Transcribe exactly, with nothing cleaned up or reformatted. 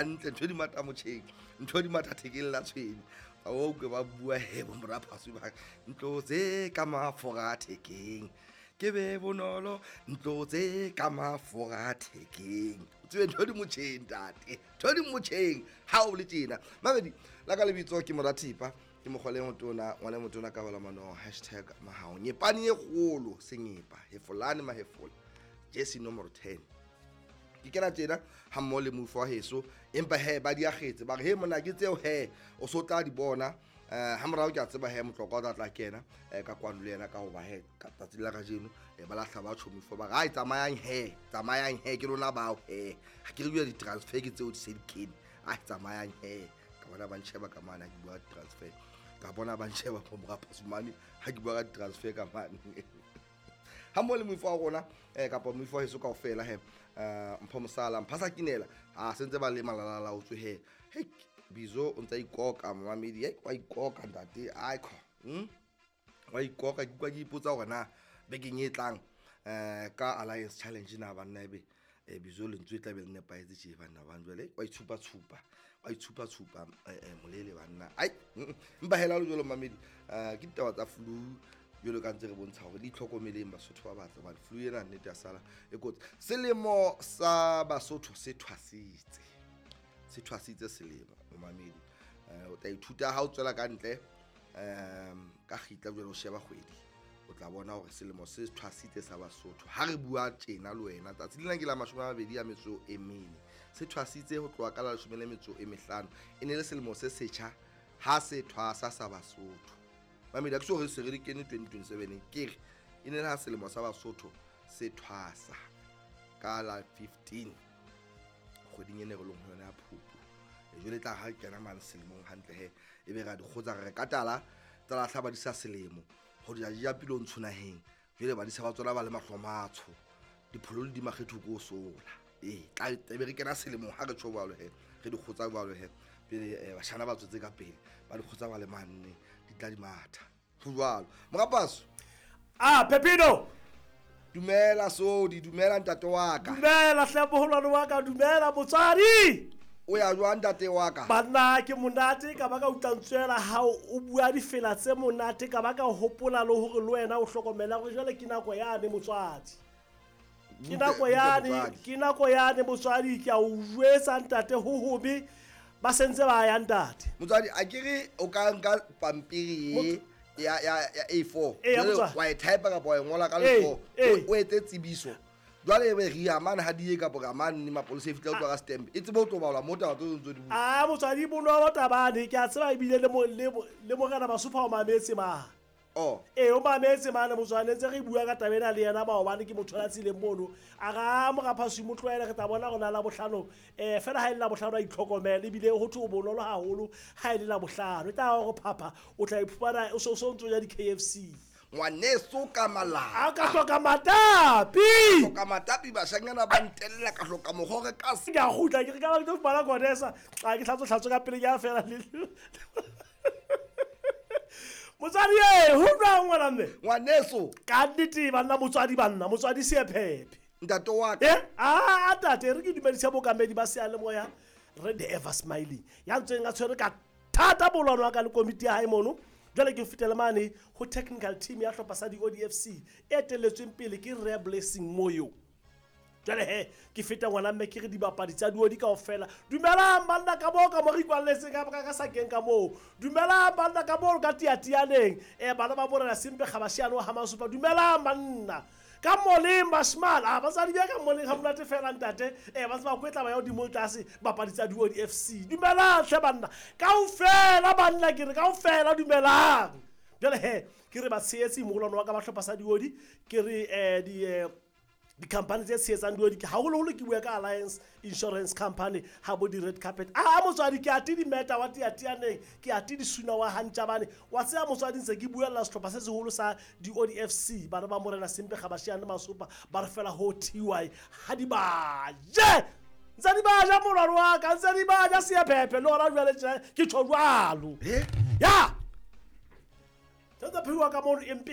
Hantle ntho di mata motjheng, ntho di mata thekeng la tshwene. Ba utlwe ba bua he bo mora Phasu ba ntlo tse ka mafura thekeng. Ke be bonolo ntlo tse ka mafura thekeng. Tsebe ntho di motjheng ntate, ntho di motjheng ha o le tjena. Mamedi la ka lebitso ke Morathipa, ke mokgwale motona, ngwana motona ka bala mano hashtag mahao. Nyepane e kgolo senyepa, hefolane mahefola. Jesse nomoro ten. Ke kena tjena ha mmoho le mofu wa heso, empa he ba di akgetse ba re he monna ke tseo he o so tla di bona. Eh ha morao ke a tseba he motlokwa o tla tla kena ka kwano le yena ka hoba he ka tsatsi la kajeno ba lahla ba tjho mofu ba re ai tsamayang he, tsamayang he ke lona bao he. Ha ke re bua di-transfer ke tseo di se di kene. Ai tsamayang he. Ka bona ba ntsheba ka mane ha ke bua transfer. Ka bona ba ntsheba bo mora Phasumane ha ke bua ka transfer ka mane. Ha mmoho le mofu wa rona eh kapa mofu wa heso kaofela he Mpho Mosala Mphasa Kinela ha sentse ba le malalala o tswe he. He Bizo o ntsa ikoka mamedi, he wa ikoka ntate aikho. Hm wa ikoka ke utlwa ke ipotsa hore na bekeng e tlang eh ka Alliance Challenge na banna ebe Bizo lentswe e tla be le nepahetse tje banna ba jwale wa itshupa tshupa wa itshupa tshupa molele banna. Ai mpa hela le jwalo mamedi ke ditaba tsa flu jwalo ka ntse re bontsha hore di tlhokomeleng Basotho ba batle hobane flu ena nnete ya sala e kotsi. Selemo sa Basotho se thwasitse, se thwasitse selemo momamedi. O tla ithuta ha o tswela ka ntle um ka kgitla jwalo o sheba kgwedi, o tla bona hore selemo se thwasitse sa Basotho. Ha re bua tjena le wena tsatsi lena ke la mashome a mabedi a metso e mene, se thwasitse ho tloha ka la leshome le metso e mehlano. E ne le selemo se setjha ha se thwasa sa Basotho. Mamedi a ke so re se re di kene twenty twenty-seven ke re e ne le ha selemo sa Basotho se thwasa ka la fifteen kgweding ene re leng ho yona ya Phupu. Jwale tla ha kena mane selemong hantle he e be ra di kgotsa re ka tala tsa lahla ba di sa selemo ho di ja pilo ntsho naheng. Jwale ba di sa ba tsona ba le mahlo matsho dipholo le di makgetho ko sola. Eh tla be re kena selemong ha re tjho jwalo he re di kgotsa jwalo he pele bashana ba tswetse ka pele ba di kgotsa ba le manne di tla di matha ho jwalo. Morapaso ah Pepino dumela sodi, dumela ntate wa ka, dumela hle boholwane wa ka, dumela motswadi. O ya jwang ntate wa ka? Banna ke monate ka ba ka utlwantswela ha o bua difela tse monate ka ba ka hopola le hore le wena o hlokomela hore jwale ke nako yane motswadi. Ke nako yane, ke nako yane motswadi, ke a o jwetsa ntate ho hobe ba sentse ba ya ntate. Motswadi a ke re o ka nka pampiri ya ya ya A four wa e type kapa wa e ngola ka letsoho o etse tsebiso. Jwale ebe re ya mane ha di ye kapa ka mane ni mapolesa e fihla o tloha ka stamp e tsebe ho tlo balwa mo taba tseo ntse di bua. Ah motswadi bonolo tabane ke a tseba ebile le le morena Basopha o mametse ma. Oh eh o mametse mane motswadi ntse re bua ka taba ena le yena maobane ke motho la tsileng mono a ra mora Phasu mo tlohele re tla bona rona la bohlano eh fela ha ile la bohlano a itlhokomela ebile ho thwe o bonolo haholo ha ile la bohlano e tla hore phapha o tla iphumana o so so ntso ya di K F C. Ngwaneso ka malapa a ka hloka matapi, hloka matapi bashanyana ba ntella ka hloka mohore ka se ka kgutla ke re ka ba ke tlo fumana kodesa a ke hlatso hlatso ka pele ke a fela le motswadi e ho jwang ngwana mme ngwaneso ka nnete banna motswadi banna motswadi Seephephe ntate wa ka eh a tate re ke dumedisa bokamedi ba seyalemoya re the ever smiling ya ntseng a tshwere ka thata bolwana wa ka le komiti ya hae mono. Jwale ke fetela mane ho technical team ya hlopha sa di O D F C e etelletsweng pele ke Re Blessing Moyo. Jwale he ke feta ngwana mme ke re dibapadi tsa diodi kaofela dumelang banna ka moo ka mo re ikwalletseng ka ka sakeng ka moo, dumelang banna ka moo ka tiatianeng eh bana ba borena Sempe Kgabashiane wa Hamasupa, dumelang banna ka moleng bashimane a batsadi ba ka moleng ha monate fela ntate eh ba tseba kwetla ba ya hodimo tlase bapadi tsa diodi F C dumelang hle banna kaofela banna ke re kaofela dumelang. Jwale he ke re ba tshehetsi mogolwane wa ka ba hlopha sa diodi ke re eh di di-company tse tshehetsang diodi ke haholoholo ke bua ka Alliance Insurance Company ha bo di-red carpet. A motswadi ke ate di-meta wa tiatianeng ke ate disuna wa hantjabane wa tseba motswadi ntse ke buella sehlopha se seholo sa di-O D F C bana ba morena Sempe Kgabashiane Masopa ba re fela ho T Y ha di ba je ntse di ba ja molwalo wa ka ntse di ba ja Seephephe le hona jwale ke tjho jwalo ya tsa pheuwa ka mono empe.